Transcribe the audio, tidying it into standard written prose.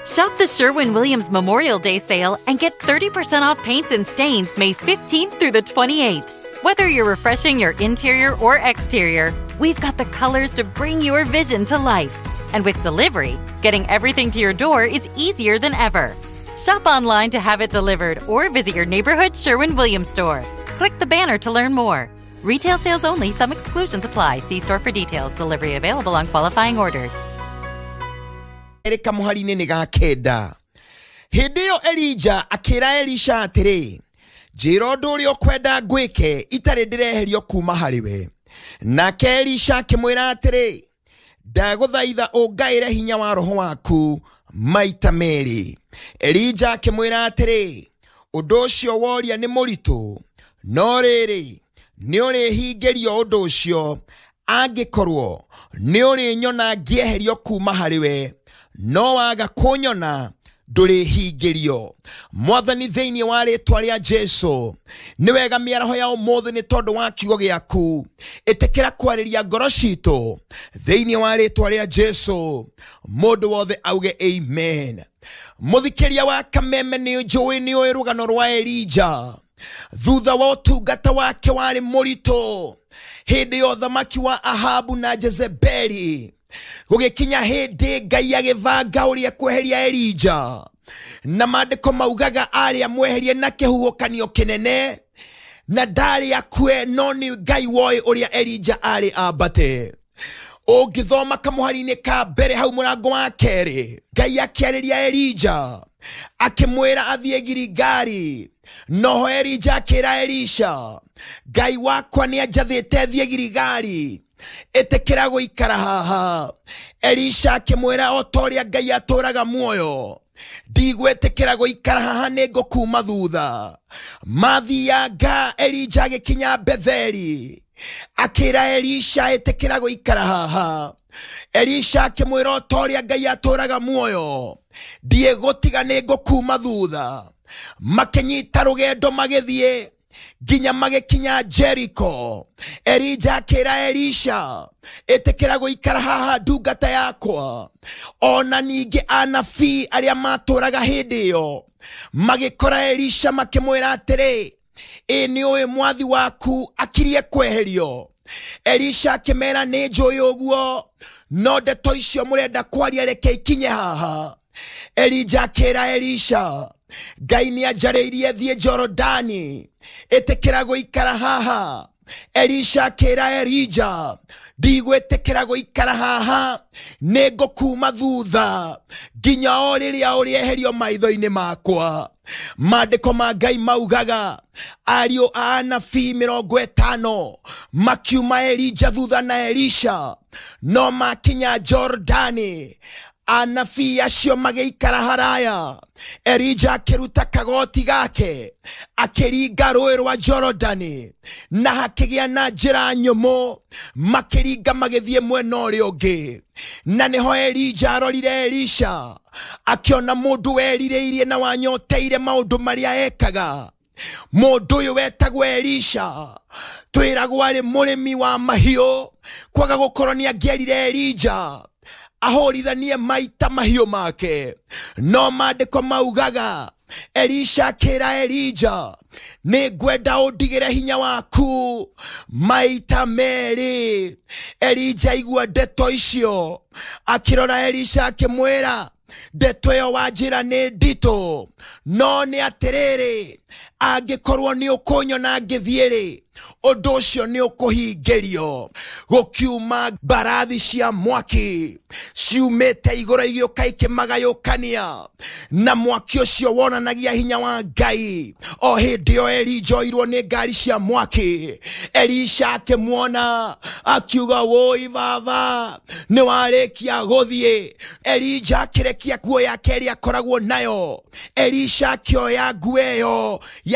Shop the Sherwin Williams Memorial Day sale and get 30% off paints and stains May 15th through the 28th. Whether you're refreshing your interior or exterior, we've got the colors to bring your vision to life. And with delivery, getting everything to your door is easier than ever. Shop online to have it delivered or visit your neighborhood Sherwin Williams store. Click the banner to learn more. Retail sales only, some exclusions apply. See store for details. Delivery available on qualifying orders. Erĩ kamũhari-inĩ nĩ ga kenda. Hĩndĩ ĩyo Elija akĩra Elisha atĩrĩ, njĩra ũndũ ũrĩa ũkwenda ngwĩke itarĩ ndĩreherio kuuma harĩ we. Nake Elisha akĩmwĩra atĩrĩ, ndagũthaitha ũngaĩre hinya wa roho waku maita merĩ. Elija akĩmwĩra atĩrĩ, ũndũ ũcio woria nĩ mũritũ, no rĩrĩ, nĩ ũrĩhingĩrio ũndũ ũcio angĩkorwo nĩ ũrĩnyona ngĩeherio kuuma harĩ we, no waga kũnyona ndũrĩhingĩrio. Mwathani, thĩinĩ wa rĩtwa rĩa Jesu, nĩ wega mĩaraho ya ũmũthĩ nĩ tondũ wa kiugo gĩaku. Ĩtĩkĩra kwarĩria ngoro citũ thĩinĩ wa rĩtwa rĩa Jesu. Mũndũ wothe auge amen. Mũthikĩria wa Kameme, nĩ njũĩ nĩ ũĩ rũgano rwa Elija. Thutha wa ũtungata wake warĩ mũritũ hĩndĩ ya ũthamaki wa Ahabu na Jezebeli, gũgĩkinya hĩndĩ Ngai agĩbanga ũrĩa kweheria Elija, na maandĩko maugaga arĩa mweherie na kĩhuhũkanio kĩnene, na ndarĩ akue, no nĩ Ngai woĩ ũrĩa Elija arĩ ambate. Ũngĩthoma kamũhari-inĩ ka mbere hau mũrango wa kerĩ, Ngai akĩarĩria Elija akĩmwĩra athiĩ Giligali. Noho Elija akĩra Elisha, Ngai wakwa nĩ anjathĩte thiĩ Giligali, ĩtĩkĩra gũikara haha. Elisha akĩmwĩra, o ta ũrĩa Ngai atũraga muoyo, ndigwĩtĩkĩra gũikara haha, nĩ ngũkuma thutha. Mathianga, Elija agĩkinya Betheli, akĩra Elisha, ĩtĩkĩra gũikara haha. Elisha akĩmwĩra, o ta ũrĩa Ngai atũraga muoyo, ndiĩgũtiga, nĩ ngũkuma thutha. Makĩnyita rũgendo magĩthiĩ nginya magĩkinya Jericho. Elija akĩra Elisha, ĩtĩkĩra gũikara haha ndungata yakwa. Ona ningĩ anabii arĩa matũraga hĩndĩ ĩyo magĩkora Elisha makĩmwĩra atĩrĩ, ĩ nĩ ũĩ mwathi waku akirie kweherio? Elisha akĩmera, nĩ njũĩ ũguo, no ndeto icio mũrenda kwaria reke ikinye haha. Elija akĩra Elisha, Ngai nĩ anjarĩirie thiĩ Jorodani, ĩtĩkĩra gũikara haha. Elisha akĩra Elija, ndigwĩtĩkĩra gũikara haha, nĩ ngũkuma thutha nginya o rĩrĩa ũrĩeherio maitho-inĩ makwa. Maandĩko ma Ngai maugaga ariũ a anabii 50 makiuma Elija thutha na Elisha, no makinya Jorodani anabii acio magĩikara haraya. Elija akĩruta kagoti gake akĩringa rũĩ rwa Jorodani, na hakĩgĩa na njĩra nyũmũ, makĩringa magĩthiĩ mwena ũrĩa ũngĩ. Na nĩho Elija arorire Elisha akĩona mũndũ werirĩirie na wanyoteire maũndũ marĩa ekaga. Mũndũ ũyũ wetagwo Elisha twĩragwo arĩ mũrĩmi wa mahiũ, kwaga gũkorwo nĩ angĩerire Elija ahũrithanie maita mahiũ make, no maandĩko maugaga Elisha akĩra Elija, nĩ ngwenda ũndigĩre hinya waku maita merĩ. Elija aigua ndeto icio akĩrora Elisha akĩmwĩra, ndeto ĩyo wanjĩra nĩ nditũ, no nĩ atĩrĩrĩ, angĩkorwo nĩ ũkũnyona ngĩthiĩ-rĩ, ũndũ ũcio nĩ ũkũhingĩrio. Gũkiuma mbarathi cia mwaki ciumĩte igũrũ igĩũka ikĩmagayũkania, na mwaki ũcio wonanagia hinya wa Ngai. O hĩndĩ ĩyo Elija oirwo nĩ ngari cia mwaki, Elisha akĩmuona akiuga, wũi baba, nĩ warĩkia gũthiĩ. Elija akĩrekia nguo yake ĩrĩa akoragwo nayo. Elisha akĩoya nguo ĩyo ya